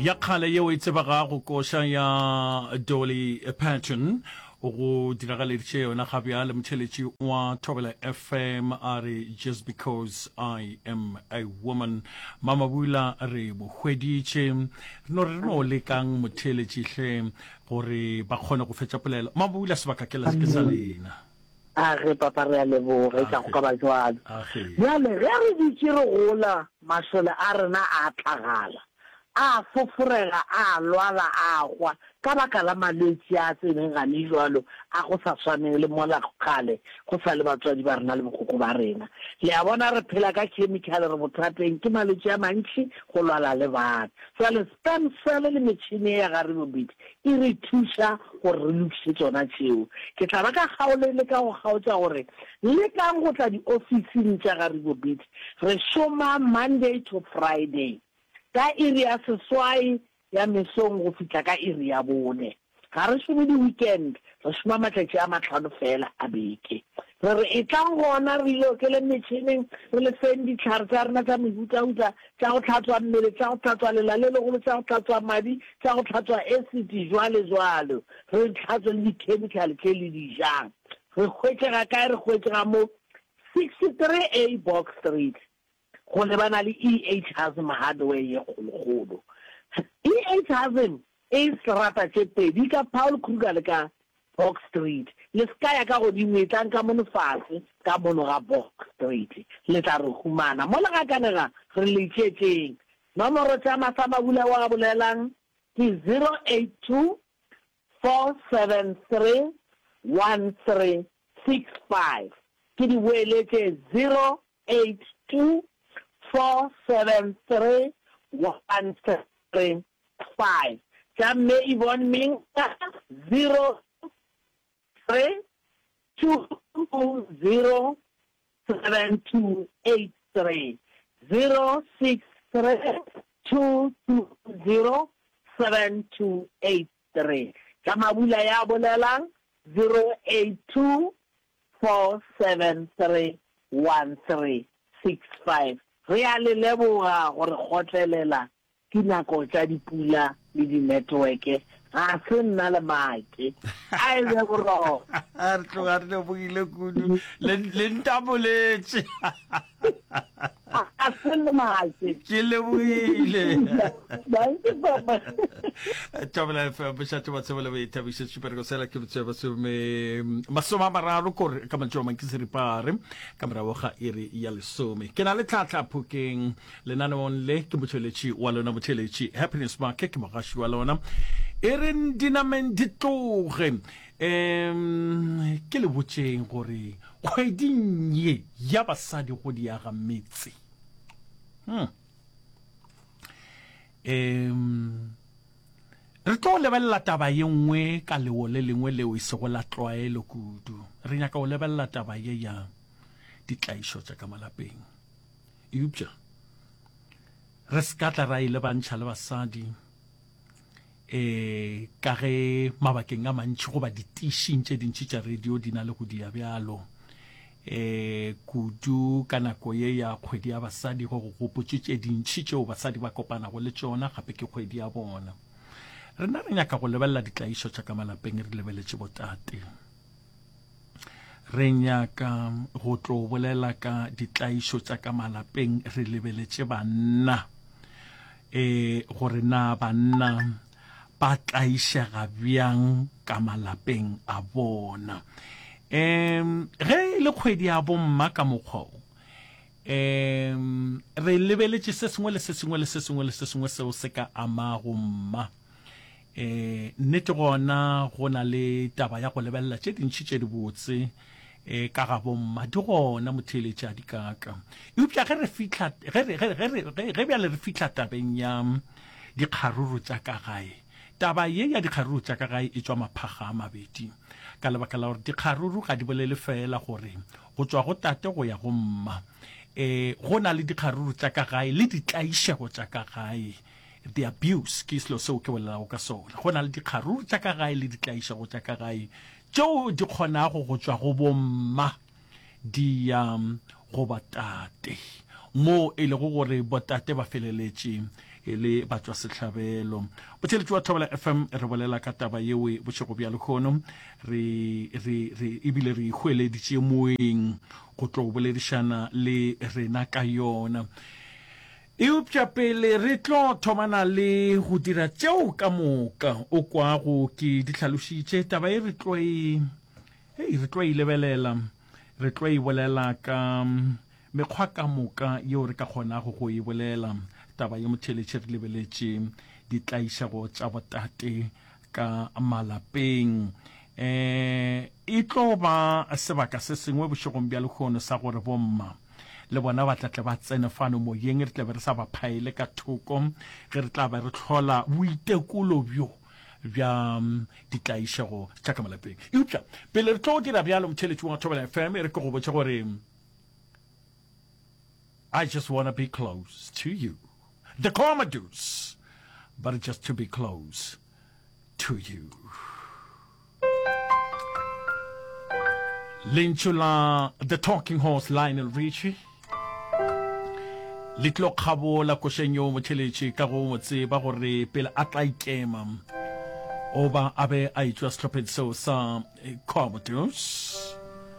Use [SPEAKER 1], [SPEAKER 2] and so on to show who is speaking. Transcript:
[SPEAKER 1] Ya kgale yeo e tsebegago koša ya Dolly Parton go diragaleditše yona ga bjale motheletši wa Thobela FM a re just because I am a woman. Mamabula re mo hweditše re no re no lekang motheletši hle gore ba kgone go fetša polelo. Mamabula sebaka ke ke sa lena.
[SPEAKER 2] A ge papa re a leboga e ka go ka ba jwalo. Bjale ge re dutše re gola mašole a rena a tlagala, a foforega, a lwala, a hwa ka baka la malwetši a tseneng gane jwalo a go sa swaneng le mola kgale go sa le batswadi ba rena le bokoko ba rena. Le a bona re phela ka chemical re bothateng ke malwetši a mantši go lwala le bana. Jwale sperm cell le metšhini ye ya ga Ribobit e re thuša gore re lokiše tšona tšeo. Ke tla ba ka kgaolo e leka go kgaotša gore lekang go tla diofising tša ga Ribobit. Re šoma Monday to Friday ka iri ya seswai ya mesong go fihla ka iri ya bone. Ga re šome di-weekend, re šoma matšatši a mahlano feela a beke. Re re etlang gona re le okeleng metšhineng, re le feng dihlare tša rena tša mehutahuta tša go hlatswa mmele, tša go hlatswa lela le legolo, tša go hlatswa madi, tša go hlatswa esiti, jwale jwalo. Re hlatswe le dikhemikhale tše le di jang. Re hwetšega kae? Re hwetšega mo 63 A Box Street, go lebana le EH Hazm Hardware ye kgolokgolo. EH Hazm e serata tše pedi, ka Paul Kruger le ka Box Street. Le se ka ya ka godimo, etlang ka mono fase, ka mono ga Box Street. Le tla re humana. Mo le gakanega, re le tšetšeng. Nomoro tša Masamabula wa bolelang ke 082 473 1365. Ke di boeletše 082 473 1365. Tša Mme Yvonne Minga 03 220 7283 063 220 7283. Tša Mabula ya bolelang 082 473 1365. Re a le leboga go re kgotlelela Dinako tša dipula le dinetworke ga se nna le make. A e be boroko.
[SPEAKER 1] Re tloga re lebogile kudu. Le, le ntaboletše.
[SPEAKER 2] Ga se le make.
[SPEAKER 1] Ke lebogile.
[SPEAKER 2] Dankie papa.
[SPEAKER 1] Thobela FM, bošate ba tsebo le boithabišo, tšhipereko sela ke botse ba some masome a mararo kore ka mantšu a mang ke seripare ka morago ga iri ya lesome. Ke na le tlhahla phokeng Lenaneong le ke motšweletši wa lona motheeletši Happiness Make, ke mogaši wa lona. E reng dinameng di tloge. Um ke le botšeng gore kgweding ye ya basadi go diaga metse. Hmm. Um re tlo lebelela taba ye nngwe ka lewo le lengwe leo e sego la tlwaelo kudu. Re nyaka go lebelela taba ye ya ditlaišo tša ka malapeng. Eupša re se ka tla ra e lebantšha le basadi um ka ge mabakeng a mantši goba ditišing tše dintši tša radio di na le go dia bjalo um kudu ka nako ye ya kgwedi ya basadi go go gopotše tše dintši tšeo basadi ba kopanago le tšona gape ke kgwedi ya bona. Rena re nyaka go lebelela ditlaišo tša ka malapeng re lebeletše botate. Re nyaka go tlo bolela ka ditlaišo tša ka malapeng re lebeletše banna. E, gore na banna ba tlaišega bjang ka malapeng a bona. Um, ge e le kgwedi ya bomma ka mokgwa o, um, re lebeletše se sengwe le se sengwe le se sengwe le se sengwe seo se ka amago mma. E, nnete gona go na le taba ya go lebelela tše dintši tše dibotse e, ka ga bomma di gona motheeletši a di kaka. Eupša ge re fihla ge re, ge, ge, ge, ge bjale re fihla tabeng ya dikgaruru tša ka gae, taba ye ya dikgaruru tša ka gae e tšwa maphaga a mabedi ka lebaka la gore dikgaruru ga di bolele feela gore go tšwa go tate go ya go mma. E, go na le dikgaruru tša ka gae le ditlaišego tša ka gae. The abuse ke selo seo ke bolelago ka sona. Go na le dikgaruru tša ka gae le ditlaišego tša ka gae tšeo di kgonago go tšwa go bomma di ya go batate, moo e lego gore botate ba feleletše. E le batšwasehlabelo. Botheletši wa Thobela FM re bolela ka taba yewe bošego bja lehono. Re, re, re, ebile re ihweleditše moeng go tlo boledišana le rena ka yona. Eupša pele re tlo thomana le go dira tšeo ka moka o kwago ke di hlalošitše, taba ye re tlo e, hei, re tlo e lebelela, re tlo e bolela ka Mekgwa ka moka yeo re ka kgonago go e bolela taba ye motheeletši re lebeletše ditlaišego tša botate ka malapeng. Um e tlo ba sebaka se sengwe bošegong bja lehono sa gore bomma le bona ba tla tle ba tsene fano moyeng, re tla be re sa ba phaele ka thoko ge re tla be re hlola boitekolo bjo bja ditlaišego tša ka malapeng. Eupša pele re tlo dira bjalo, motheeletši wa Thobela FM, e re ke go botše gore I just wanna be close to you. The Commodores, but just to be close to you. Lentšu la The Talking Horse Lionel Richie le tlo kgabola košeng yo motheletše ka go mo tseba gore pele a tla ikema o ba a be a etšwa sehlopheng seo sa Commodores.